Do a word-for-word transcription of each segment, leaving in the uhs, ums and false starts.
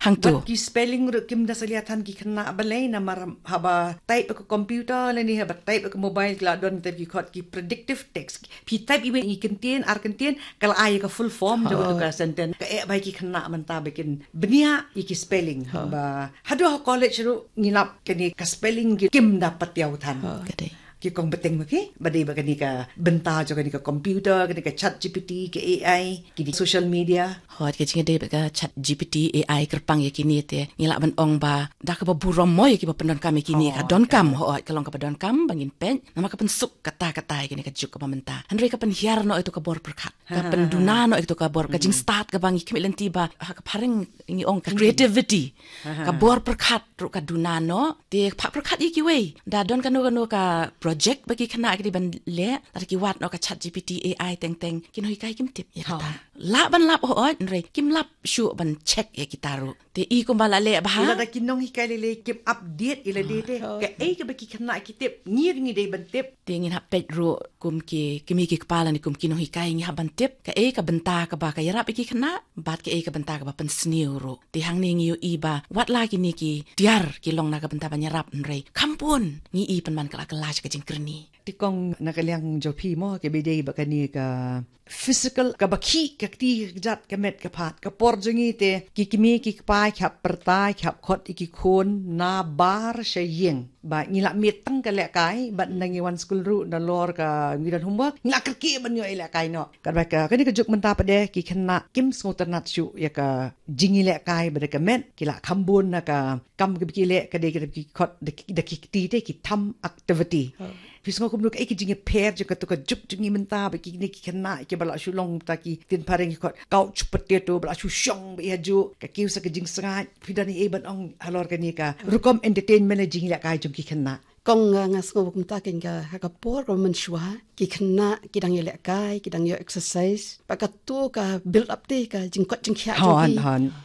Hangto. Bad ki spelling ruh kim da salia than ki khynnah balei, namar haba type ka computer lane haba type ka mobile ki la don te ki khot ki predictive text. Phi type iwei i kyntien, ar kyntien, ka la ai ka full form jong katu ka sentence. Ka eh ba ki khynnah mynta ba kin bniah ïa ki spelling. Ba haduh ha college ruh ngi lap kane ka spelling ki kim da patiaw than. Ka dei. Ki kong bteng ma phi, ba dei ba kane ka bynta jong kane ka computer, kane ka chat G P T, ka A I, ki dei social media. Hot, ka jingdei ba ka chat G P T, A I kyrpang ïa kine te, ngi lah ban ong ba da kaba burom mo ïa kiba pyndonkam ïa kine, ka donkam, hot, ka long kaba donkam ba ngin peit, namar ka pynsuk katta katta ïa kane ka juk kaba mynta. Hynrei ka pynhiar noh ïa tu ka bor pyrkhat, ka pynduna noh ïa tu ka bor, ka jingstad kaba ngi khmih lynti ba ha ka phareng ngi ong ka creativity. Ka bor pyrkhat ruh ka duna noh, te ka pyrkhat ïa kiwei. Da don kano kano ka project ba ki khynnah ki dei ban leh, lada ki wad noh ka chat G P T, A I teng teng, ki nonghikai kim tip ïa kata. Lah ban lap, hooid, hynrei kim lap shuh ban check ïa kita ruh. Te i kumba la leh bha. Lada ki nonghikai lei lei kim update ïa lade te. Kaei kaba ki khynnah ki tip, ngi ruh ngi dei ban tip. Te ngin hap peit ruh kum ki kmie ki kpa lane kum ki nonghikai ngi hap ban tip kaei ka bynta kaba ka ïarap ïa ki khynnah bad kaei ka bynta kaba pynsniew ruh. Te hangne ngi ïohi ba wat la kine ki tiar ki long na ka bynta ban ïarap, hynrei kham bun ngi i pynban ka la kylla sha ka jingkyrni. Te kong, na ka liang jong phi mo, kaba dei ba kane ka physical, kaba khih ka kti ka kjat ka met ka phad, ka por jong ngi te ki kmie ki kpa ki hap pyrta, ki hap khot ïa ki khun na bar sha ïing. Ba ngi la miet tang ka lehkai, bad nda ngi wan skul ruh, nalor ka ngi don homework, ngi la kyrkieh ban ïoh ïalehkai noh. Katba ka, kane ka juk mynta pat de ki khynnah kim sngewtynnat shuh ïa ka jingïalehkai bad ka met, ki la kham bun na ka kam kaba ki leh, ka dei kaba ki khot da ki, da ki kti te ki thumb activity. Phi sngew kumno, kaei ka jingïapher jong katu ka juk jong ngi mynta, ba kine ki khynnah kiba la shu long ta ki ktien phareng ki khot couch potato, ba la shu shong beit hajuh, ka kiew sa ka jingsngaid. Phi don ei ban ong halor kane ka rukom entertainment, jingïalehkai jong ki khynnah? Kong, nga, nga sngew kumta, kane ka, ha ka por kaba mynshuwa ki khynnah ki dang ïalehkai, ki dang ïoh exercise, ba katu ka build up te ka jingkoit jingkhiah jong ki.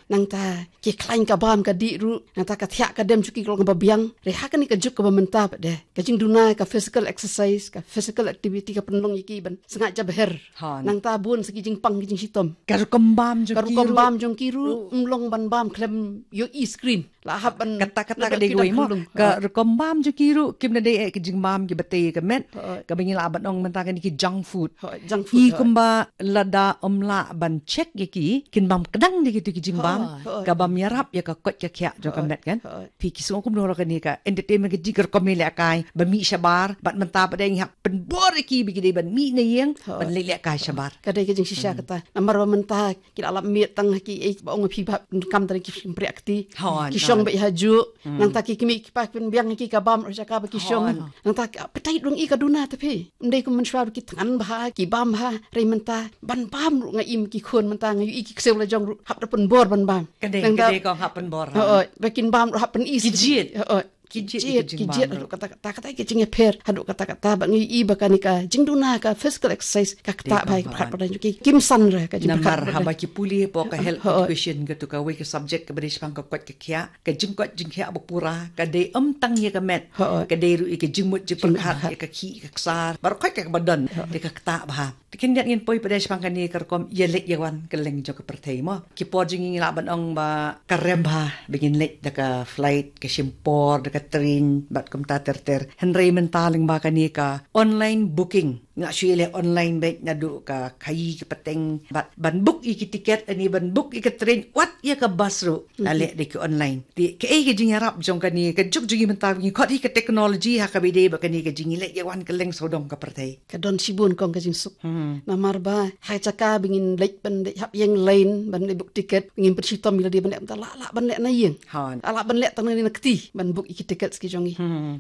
Nangta ki khlaiñ ka bam ka dih ruh, nangta ka thiah ka dem jong ki ka long kaba biang. Hynrei ha kane ka juk kaba mynta pat de, ka jingduna ka physical exercise, ka physical activity ka pynlong ïa ki ban sngaid jabher. Nangta bun sa ki jingpang ki jingshitom. Ka rukom bam jong ki ruh, ka rukom bam jong ki ruh, um long ban bam khlem ïohi screen. La hap ban kata, kata ka dei kawei mo. Ka rukom bam jong ki ruh kim da dei eh ka jingbam kiba tei ka met, kaba ngi lah ban ong mynta kane ki junk food. Junk food. I kumba lada ym lah ban check ïa ki, kin bam kdang da kitu ki jingbam, ka bym ïarap ïa ka koit ka khiah jong ka met kan. Phi, ki sngew kumno halor kane ka entertainment, ka jing, ka rukom ïalehkai ba mih shabar, bad mynta pat de ngi hap pynbor ïa ki ba ki dei ban mih na ïing ban leit lehkai shabar. Ka dei ka jingshisha kata. Namar ba mynta ki la lap miet tang ha kiei ba ong phi ba kam tang ki shympriah kti. Ki shong beit hajuh. Nangta ki kmie ki kpa ki pynbiang ïa ki ka bam ruh jaka ba ki shong. Nangta ka appetite ruh ngi ka duna te phi. Ym dei kum mynshuwa ruh ki thngan bha, ki bam bha, hynrei mynta ban bam ruh nga im ki khun mynta nga ïohi ki ksiew lajong ruh hap da pynbor ban bam. Ka dei, ka dei kong, hap pynbor. Hooid, ba kin bam ruh hap pyni. Ki jied. Hooid. Ki jied, ki jied haduh katta katta, kata ka jingïapher haduh katta katta, ba ngi i ba kane ka jingduna ka physical exercise ka ktah bha ïa ka pyrkhat pyrda jong ki, kim san re ka jingpyrkhat. Namar haba ki pule hapoh ka health education, katu kawei ka subject kaba dei shaphang ka koit ka khiah, ka jingkoit jingkhiah ba pura ka dei ym tang ïa ka met, ka dei ruh ïa ka jingmut jingpyrkhat, ïa ka khih ka ksar, baroh khoit kaba don, dei ka ktah bha. Te khyndiat ngin poi pat de shaphang kane ka rukom ïaleit ïawan kylleng jong ka pyrthei mo. Ki por jong ngi ngi lah ban ong ba ka rem bha ba ngin leit da ka flight, ka shim por da ka train bad kumta ter ter. Hynrei mynta lyngba kane ka online booking, ngi la shu ïaleh online beit, naduh ka khaïi ka pateng, bad ban book ïa ki tiket, ani ban book ïa ka train, wat ïa ka bus ruh la leh da ki online. Te kaei ka jingïarap jong kane ka juk jong ngi mynta, ngi khot hi ka technology, ha kaba ïadei bad kane ka jingïaleit ïawan kylleng sawdong ka pyrthei? Ka don shibun kong ka jingsuk. Namar ba ha ka jaka ba ngin leit ban leit hap ïeng line ban leit book tiket, ngin pynshitom ïa lade ban leh mynta, lah lah ban leh na ïing. Lah lah ban leh tang na kti ban book ïa ki tiket ki jong ngi,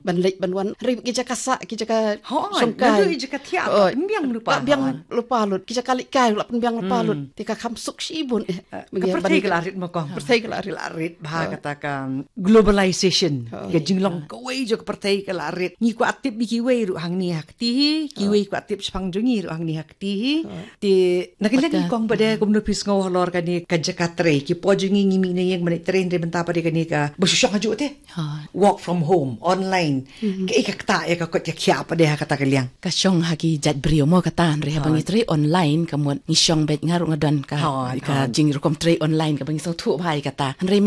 ban leit ban wan. Hynrei ki jaka sah, ki jaka shongkai, naduh ki jaka thiah, lah pynbiang lypa, lah pynbiang lypa lut. Ki jaka leit kai lah pynbiang lypa lut. Te ka kham suk shibun eh. Ka pyrthei ka la rit mo kong. Pyrthei ka la rit. Ka la rit bha, kata ka globalization. Ka jinglong kawei jong ka pyrthei ka la rit. Ngi kwah tip ïa kiwei ruh hangne ha kti hi, kiwei kwah tip shaphang jong ngi ruh hangne ha kti hi. Te na ka liang kong pat de, kumno phi sngew halor kane ka jaka trei? Ki por jong ngi ngi mih na ïing ban leit trei, hynrei mynta pat de kane kaba shu shong hajuh te. Work from home, online. Kaei ka ktah ïa ka koit ka khiah pat de ha kata ka liang? Ka shong ha ki jait briew mo kata, hynrei haba ngi trei online, ka mut ngi shong beit, nga ruh nga don ka, ka jingrukom trei online kaba ngi sngewthuh bha ïa kata. Hynrei mynta